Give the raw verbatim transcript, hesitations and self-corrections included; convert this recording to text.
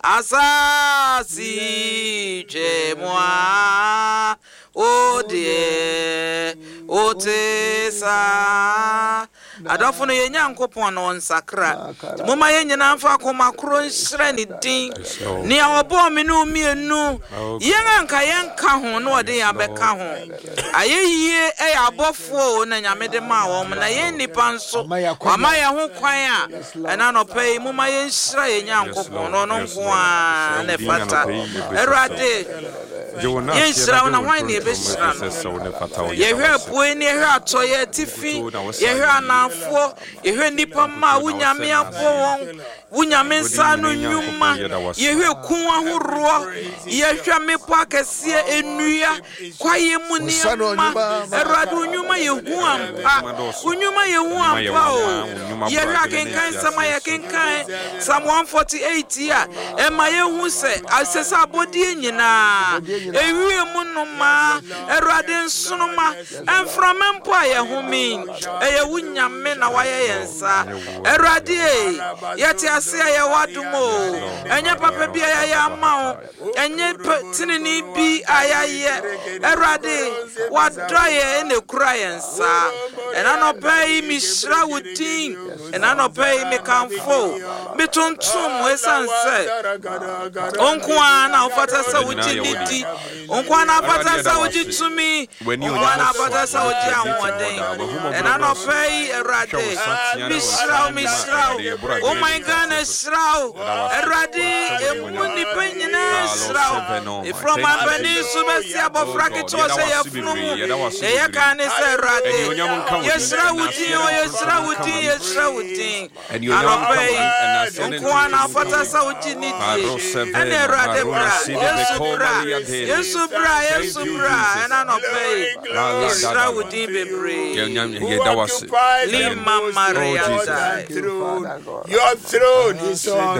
Asase twam a, wo deɛ wote saa. Adɔfo no, yɛn Nyankopɔn no ɔnsakra. Momma yɛn nyinaa mfa akoma koro nhyerɛ ne din. Nea ɔbɔɔ me ne wo mmienu, yɛn anka yɛnka ho na ɔde yɛn abɛka ho. Ayɛyie ɛyɛ abɔfoɔ o na Nyame de maa wɔn, na yɛn nnipa nso wama yɛn ho kwan a ɛna nɔpɛ yi momma yɛnhyira yɛn Nyankopɔn na ɔno nko ara na ɛfata. Awurade, yɛnhyira wo na hwan ne yɛbɛhyira no? Yɛhwɛ apue ne yɛhwɛ atɔeɛ, atifi, yɛhwɛ anafoɔ, yɛhwɛ nnipa mma a wo Nyame abɔ wɔn, wo Nyame nsa ano nnwuma, yɛhwɛ kun ahoroɔ, yɛhwɛ mmepɔ akɛseɛ, nnua, kwaeɛ mu nneɛma. Awurade, wo nnwuma yɛ hu ampa, wo nnwuma yɛ hu ampa o. Yɛhwɛ akenkan nsɛm a yɛkenkan Psalm one forty-eight yi a, ɛma yɛhu sɛ asɛ sɛ abɔdeɛ nyinaa, ewie mu nnomaa, Awurade, nsoroma, mframa mpo a yɛhome, ɛyɛ wo Nyame na wayɛ yɛn nsa. Awurade e, yɛte ase a yɛwɔ adom o. Ɛnyɛ papa bi a yɛayɛ ama wo, ɛnyɛ tenene bi a yɛayɛ. Awurade, wadɔ yɛ ɛna ekura yɛn nsa. Ɛna nɔpɛ yi mehyira wo din, ɛna nɔpɛ yi mekamfo, metontom, ɛsiane sɛ wo nko ara na wofata sɛ wogye ne di, wo nko ara na wofata sɛ wogye tumi, wo nko ara na wofata sɛ wogye ahoɔden. Ɛna nɔpɛ yi, Awurade, mehyira wo, mehyira wo. Wo man Ghana hyira wo. Awurade, emu nnipa nyinaa hyira wo, ɛfiri ɔmampanin so bɛsi abɔfra ketewa sɛ yɛfunu mu na yɛka ne sɛ, Awurade, yɛhyira wo din o, yɛhyira wo din, yɛhyira wo din. Anɔpɛ yi nko ara na wofata sɛ wogye ne die. Ɛne Awurade, bra. Yesu bra, Yesu bra, Yesu bra. Ɛna anɔpɛ yi yɛhyira wo din bebree. Lima Maria. Your throne is on.